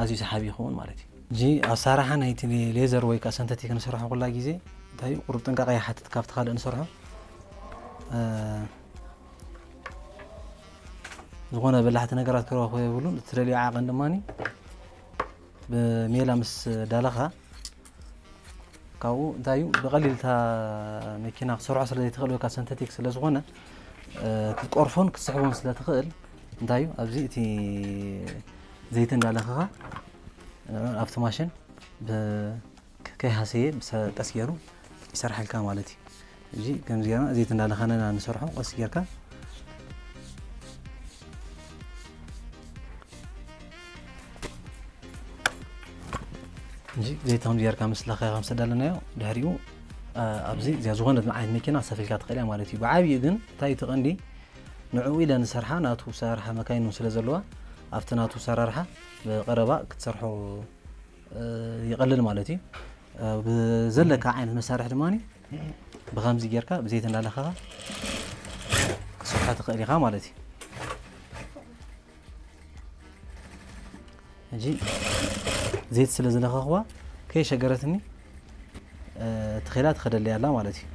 ኣዝዩ ሰሓቢ ይኸውን ማለት እዩ። እዚ ኣሰራርሓ ናይቲ ሌዘር ወይ ከዓ ሰንተቲክ ንሰርሖ ኩላ ግዜ እንታይ እዩ፣ ቁሩብ ጥንቃቐ ይሓትት ካብቲ ካልእ ንሰርሖ። ዝኾነ በላሕቲ ነገራት ክረኽቦ የብሉን። እትደልዮ ዓቐን ድማ ብሜላ ምስ ዳለኻ ካብኡ እንታይ እዩ፣ ብቐሊል እታ መኪና ክትሰርሖ ስለ ዘይትኽእል ወይ ከዓ ሰንተቲክ ስለ ዝኾነ ክትቆርፎን ክትስሕቦን ስለ ትኽእል እንታይ እዩ፣ ኣብዚ እቲ ዘይቲ እንዳለኸኻ ኣብቲ ማሽን ከይሃሰየ ቀስ ገይሩ ይሰርሓልካ ማለት እዩ። እዚ ከምዚ ጌርና ዘይቲ እንዳለኸና ንሰርሖ ቀስ ጌርካ። እዚ ዘይቲ ከምዚ ጌርካ ምስ ለኸ ከም ዝተዳለናዮ ድሕሪኡ ኣብዚ እዚኣ ዝኾነት ዓይነት መኪና ክሰፍልካ ትኽእል እያ ማለት እዩ። ብዓብዩ ግን እንታይ እቲ ቀንዲ ንዕኡ ኢለ ንሰርሓ ናቱ ሰራርሓ መካይን እውን ስለ ዘለዋ ኣብቲ ናቱ ሰራርሓ ብቐረባ ክትሰርሖ ይቐልል ማለት እዩ። ብዘለካ ዓይነት መሳርሒ ድማ ብከምዚ ጌርካ ብዘይቲ እንዳለኸኻ ክትሰርሖ ትኽእል ኢኻ ማለት እዩ። ሕጂ ዘይቲ ስለ ዝለኸኽዋ ከይሸገረትኒ ተኺላ ትኸደለይ ኣላ ማለት እዩ።